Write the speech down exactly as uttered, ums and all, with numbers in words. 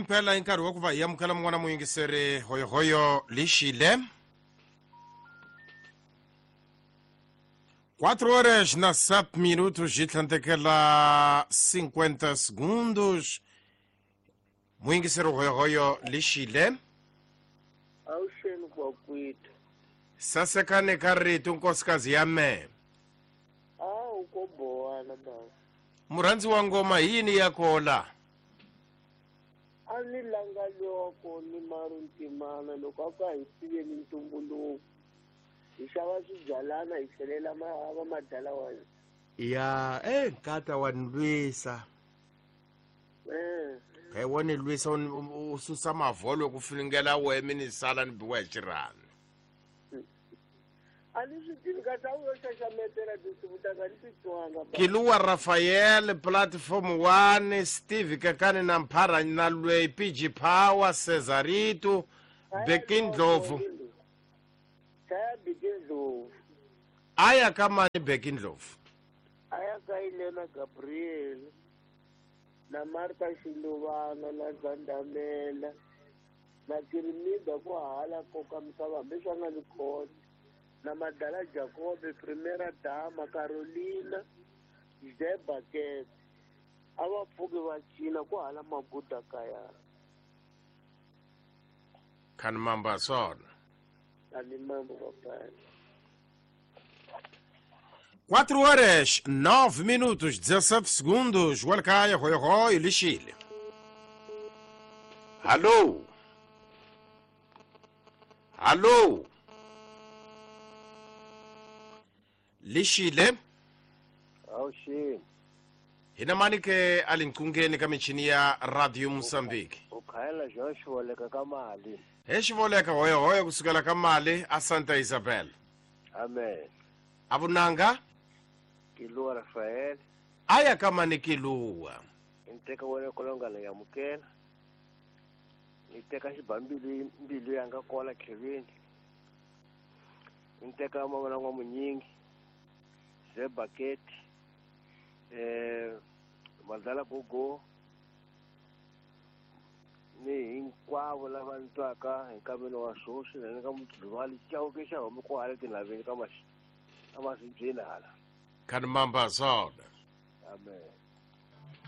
Impela hi nkarhi wa ku va hi amukela mun'wana muyingiseri hoyohoyo lixile. quatro horas na sete minutos e tlhandlekela cinquenta segundos. Muyingiseri hoyohoyo lixile. Awuxeni kwakwethu. Sasekane ka rito nkosikazi ya me. Awu ko bowana baba. Murhandzi wa ngoma hi yini ya kola? A ni langa loko ni maruntimana loko a ka hi tiveni ntumbuluko. Hi xava swibyalana hi tlhelela va madala wa hina. Ya, eh nkata wa ni lwisa. Eh. He wa ni lwisa u susa mavholo ku finingela wehe mi ni sala ni biwa hi xirhami. A ni swi tivi kasi a wu yo xaxametela tinsimu ta ka ni ti twanga. Kiluwa Rafael, Platform one, Steve Kakani na Mphara na Lwei, P G Power, Cesarito, Beki Ndlovu. Chaya Beki Ndlovu. Aya ka mani Beki Ndlovu? Aya ka Elena Gabriel na Martha Xiluvana na Zandamela na Kirimida ku hala koka misava hambi swa nga ni khona na Madala Jacobe, Primera Dama, Carolina, Zebaket. A va pfuki va cina ku hala maguda kaya. Khani mamba swona. Khani mamba papai. quatro horas, nove minutos, dezessete segundos. Walkaya, hoi hoi, lixile. Alô? Alô? Lixile. Awuxini. Hina mani ke alinkungeni ka michini ya Radio Mozambique. Ukhayela João Xivoleka ka mali. He Xivoleka hoyo hoyo kusukela ka mali a Santa Isabel. Amen. Avunanga? Kiluwa Rafael. Aya ka mani Kiluwa. Nteka wena kolonga la yamukela. Niteka xibambili mbilu yanga kola Kevin. Nteka mavona wa munyingi. Ze bucket. Eh Madala Gogo. Ni hinkwavo lava ni twaka hi nkavelo wa swoswi na ni ka mudluvali chauke xa homu ku hala tinhaveni ka masi ka masibyeni hala. Khani mamba swona. Amen.